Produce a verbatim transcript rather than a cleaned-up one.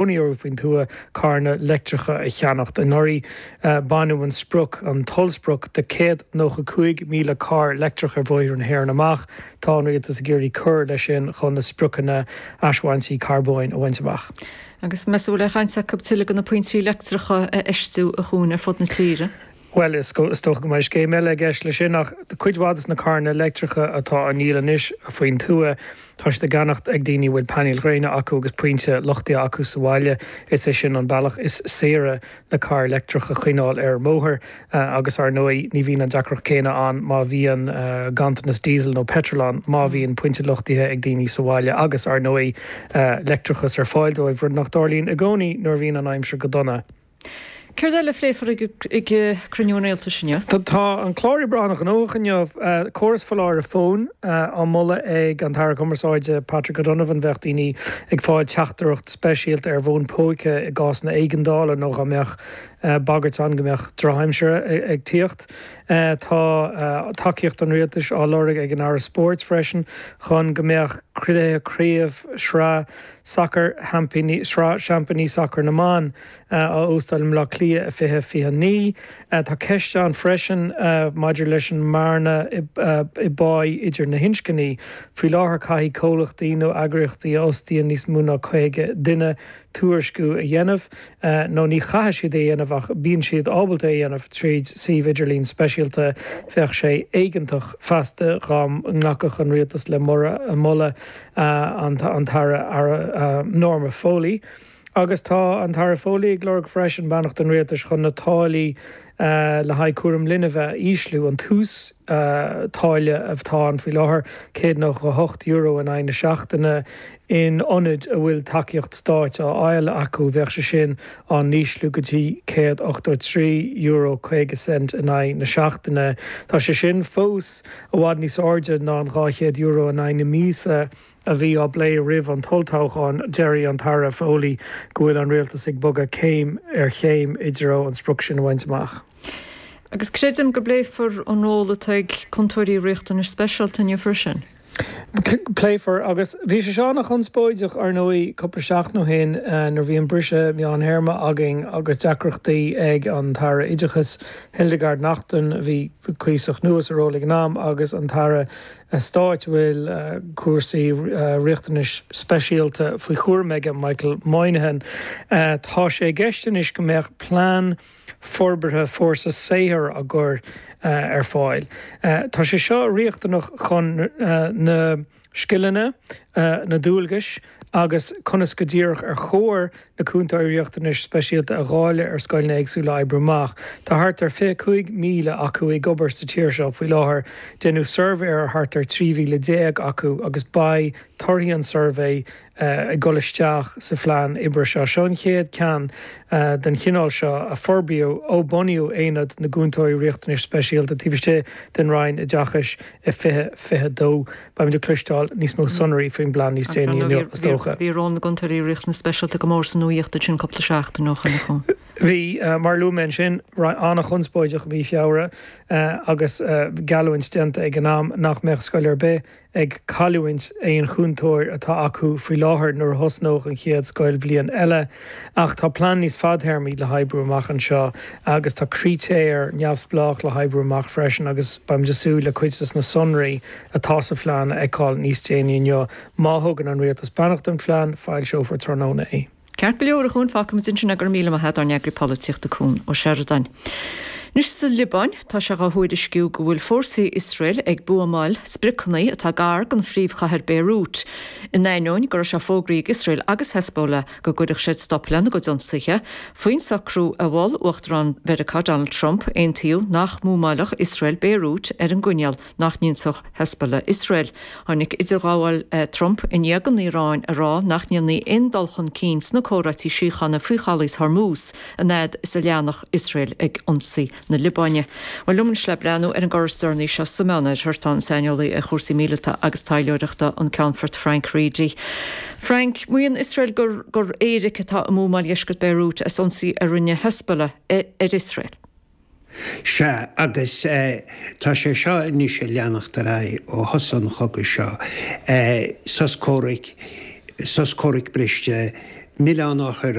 cónaí orthu faoin tuath carranna leictreacha a cheannacht. Anuraidh baineadh an sprioc, an t-ollsprioc de céad nócha cúig míle carr leictreach ar bhóithre na hÉireann amach. Tá an rialtas ag iarraidh cur leis sin chun na spriocanna asbhaintí carbóin a bhaint amach. Agus meas tú an bhfuil aon chaint acu tuilleadh de na pointí leictreacha a fheistiú a Chuain ar fud na tíre? Bhuel, is dócha go mbeidh scéim eile i gceist leis sin, ach cuid mhaith de na carranna leictreacha atá á ndíol anois faoin tuath, tá siad á gceannacht ag daoine a bhfuil painéil ghréine acu agus pointe luchtaithe acu sa bhaile. Is é sin an bealach is saoire le carr leictreach a choinneáil ar an mbóthar agus, ar ndóigh, ní bhíonn an deacracht céanna ann má bhíonn ganntanas díosail nó peitril ann, má bhíonn pointe luchtaithe ag daoine sa bhaile agus, ar ndóigh, leictreachas ar fáil dóibh, rud nach dtarlaíonn i gcónaí nuair a bhíonn an aimsir go dona. Céard eile a phléifear ag cruinniú an Rialtais inniu? Tá an clár oibre an-ghnóthach inniu. Córas foláireamh fóin á mholadh ag an tAire Cumarsáide Patrick O'Donovan. Bheadh daoine ag fáil teachtaireacht speisialta ar bhfón póca i gcásanna éigeandála nó dá mbeadh bagairt ann go mbeadh drochaimsir ag tíocht. Tá tacaíocht an Rialtais á lorg ag an Aire Spóirt freisin chun go mbeadh cluiche craobh shraith sacair Sraith Seaimpíní Sacair na mBan á óstáil i mBleá Cliath i fiche fiche a naoi. Tá ceist ann freisin maidir leis an mbearna i bpá idir na hinscní. Faoi láthair caithfidh comhlachtaí nó eagraíochtaí a fhostaíonn níos mó ná caoga duine tuairisciú a dhéanamh, nó ní chaithfidh siad é a dhéanamh ach bíonn siad ábalta é a dhéanamh tríd suíomh idirlín speisialta. Bheadh sé éigeantach feasta dhá nglacfadh an rialtas le moladh an tAire Norma Foley. Agus tá an tAire Foley ag lorg freisin beannacht an rialtais chun na táillí le haghaidh cúram linbh a ísliú, an t-uas táille atá ann faoi láthair, céad nócha a hocht euro in aghaidh na seachtaine in ionaid a bhfuil tacaíocht stáit á fháil acu, bheadh sé sin á n-ísliú go dtí céad ochtó trí euro caoga cent in aghaidh na seachtaine. Tá sé sin fós i bhfad níos airde ná an dhá chéad euro in aghaidh na míosa a bhí á bplé roimh an t-olltoghchán. Deir an tAire Foley go bhfuil an rialtas ag bogadh céim ar chéim i dtreo an sprioc sin a bhaint amach. Agus creidim go bpléifear an ról atá ag cúntóirí riachtanais speisialta inniu freisin. Pléifear, agus bhí sé seo an-chonspóideach, ar ndóigh, cúpla seachtain ó shin nuair a bhí an briseadh meántéarma againn agus deacrachtaí ag an tAire Oideachais, Hildegarde Naughton, a bhí cuíosach nua sa ról ag an am, agus an tAire Stáit a bhfuil cúrsaí riachtanais speisialta faoi chúram aige, Michael Moynihan. Tá sé i gceist anois go mbeadh plean forbartha fórsa saothair á gcur ar fáil. Tá sé seo riachtanach chun na scileanna, na dualgais agus conas go díreach ar chóir na cúntóirí riachtanais speisialta a dháileadh ar scoileanna éagsúla a oibriú amach. Tá thart ar fiche cúig míle acu ag obair sa tír seo faoi láthair. Deineadh suirbhé ar thart ar trí mhíle déag acu agus beidh torthaí an tsuirbhé ag dul isteach sa phlean oibre seo. Seo an chéad cheann den chineál seo a forbraíodh ó bunaíodh Aonad na gCúntóirí Riachtanais Speisialta taobh istigh den Roinn Oideachais i fiche fiche dó. Beimid ag cloisteáil níos mó sonraí faoin bplean níos déanaí inniu, is dócha. Bhí ról na gCúntóirí Riachtanais Speisialta go mór sa nuaíocht ansin cúpla seachtain ó shin. Bhí, mar a luaigh mé ansin, an-chonspóideach i mí Feabhra agus geallúint déanta ag an am nach mbeadh scoil ar bith ag cailliúint aon chúntóir atá acu faoi láthair nuair a thosnódh an chéad scoilbhliain eile. Ach tá plean níos fadtéarmaí le hoibriú amach anseo agus tá critéir neamhspleách le hoibriú amach freisin agus beimid ag súil le cuid des na sonraí atá sa phlean a fheiceáil níos déanaí inniu. Má thugann an rialtas beannacht don phlean, foilseofar tráthnóna é. Ceart go leor, a Chuain, fágfaimid ansin é, go raibh míle maith agat, ár n-eagraí polaitíochta Cuan Ó Seireadáin. Anois sa Liobáin, tá sé dhá thuairisciú go bhfuil fórsaí Iosrael ag buamáil spriocanna atá gar don phríomhchathair Beirut, in ainneoin go raibh sé fógraithe ag Iosrael agus Hezbollah go gcuirfeadh siad stop lena gcuid ionsaithe. Faoin socrú a mhol Uachtarán Mheiriceá Donald Trump, aontaíodh nach mbuamáilfeadh Iosrael Beirut ar an gcoinníoll nach n-ionsódh Hezbollah Iosrael. Tháinig idirghabháil Trump i ndiaidh don Iaráin a rá nach ndéanfaí aon dul chun cinn sna comhráití síochána faoi chalaos Hormuz an fhad is a leanfadh Iosrael ag ionsaí na Liobáine. Bhuel, liom anois le breathnú ar an gcor is deireanaí seo sa Meánoirthear tá an saineolaí ar chúrsaí míleata agus taidhleoireachta, an Ceannfort Frank Reidy. Frank, maíonn Iosrael gur gur éiric atá i mbuamáil dheisceart Beirut as ionsaí a rinne Hezbollah ar Iosrael. Sea, agus tá sé seo anois ag leanacht ar aghaidh ó thosach an chogaidh seo. Sos comhraic, sos comhraic briste, milleán á chur